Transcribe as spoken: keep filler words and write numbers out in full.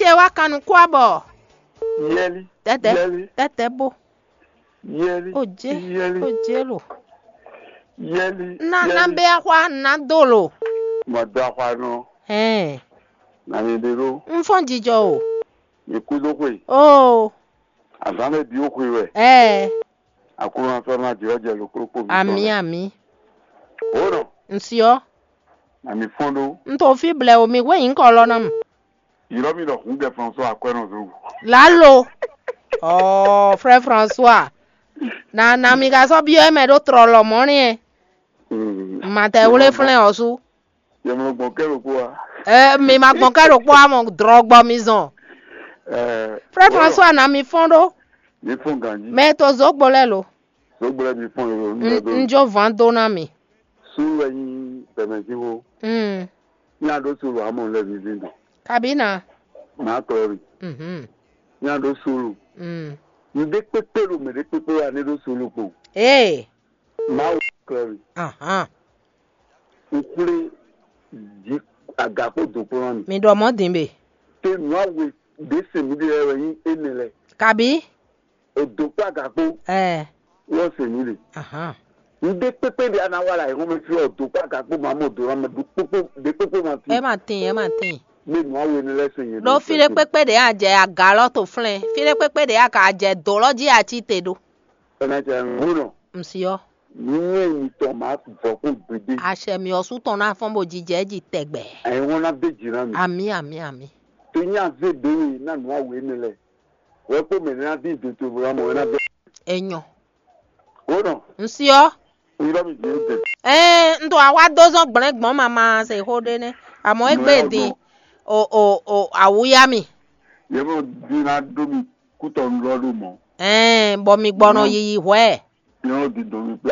E wá kan nukún abɔ. Yɛli. Tɛtɛ. Yɛli. Tɛtɛ bo. Yɛli. O jé. Yɛli. O jé lo. Yɛli. Na na bɛ axwa na do lo. Mɔ do axwa nɔ. Hɛn. Na mi ɖe ɖo. N fɔn jijɔ o. Mi kú dó xwe. Oo. Azán lɛ bi ó xwe wɛ. Ɛɛ. Aklúnɔ sɔ́ ná jɛ ɔ́ jɛ lǒkplɔ́kpó. Amǐ amǐ. Ó nɔ. N syɔ. Na mi fɔn ɖó. N to fí blɛ o mi hwé nyǐkɔ lɔ ná mu. Ylɔ́ mì ɖɔ hǔngɛ François Akwɛ́nɔzungu. Lalo. Ɔɔ, frère François. Na na mi ka sɔ́ byɔ́ mɛ ɖó tlɔlɔ mɔ̌ nɛ́. Matɛwlé flɛ́n ɔ́ sú. Yɛmlɔ gbɔn kɛ ɖokpó wa. Ɛ mi ma gbɔn kɛ ɖokpó wa mɔ drɔgbɔ mi zɔn. Ɛ. Frère François, na mi fɔn ɖó. Mi fɔn ganji. Mɛ to zogbo lɛ lo. Zogbo lɛ mi fɔn lo. N jó van dó ná mi. Sú wɛ nyi bɛmɛzinwo. Mm. Ní a ɖó solo amɔ lɛ mi zin dɔn. Kabina. Màá klɔ ri. Mhm. Ní a ɖó solo. Mm. Nǔɖé kpékpé ɖo mɛ ɖé kpékpé wa ní ɖó solo kpo. Ee. Mawu klɔ mi. Ahan. Un xwlé jí aga kpó do kplɔ́n mi. Mi ɖɔ mɔ̌ din be. Te nǔ awe ɖě se mi ɖe lɛ́ɛ wɛ nyí énɛ́ lɛ́ɛ. Kabi. O do kpó aga kpó. Ɛɛ. Wọ́n se mi ɖe. Ahan. Ŋɖé kpékpé ɖé ana wa la yǒ mɛ fí ɔ do kpó aga kpó ma mɔ do la mɛ ɖo kpókpó ɖé kpókpó ma fi. Ɛ ma tin, ɛ ma tin. Mɛ nǔ awe énɛ́ lɛ́ɛ se nyɛ. Ɖó fí ɖé kpékpé ɖě a jɛ aga lɔ to flɛ́n, fí ɖé kpékpé ɖě a ka jɛ dǒ lɔ jí a cí te ɖó. Ɛnɛ cɛ ŋúnɔ. Ŋsi ɔ́. Nǔnywɛ́ mitɔn máa vɔ kpɔ́n gbeɖé. Acɛ mì ɔ́ sú tɔn ná fɔ́n bó jijɛ jí tɛgbɛ. Ɛ̀yin wọ́n ná dé jǐ ná mi. Amǐ, amǐ, amǐ. Tó nyí azé ɖě we ná nǔ awe énɛ́ lɛ́ɛ. Wɛ kpó mɛ ná dín dotolo ná mɔ wɛ ná dé. Enyɔ. Wonɔ. Ŋsi ɔ́. Ŋlɔ mi jǐ dé. Ɛɛ, n to awa dó zɔn gblɛn gbɔn mama se xó ɖé nɛ. Àmọ́ é gbé din. O o o awuya mi. Yɛ mɔ dín ná dó mi kútɔ ŋlɔ ɖo mɔ. Ɛɛ, bɔ mi gbɔnɔ yiyi hwɛ. Yɛ mɔ dín dó mi pé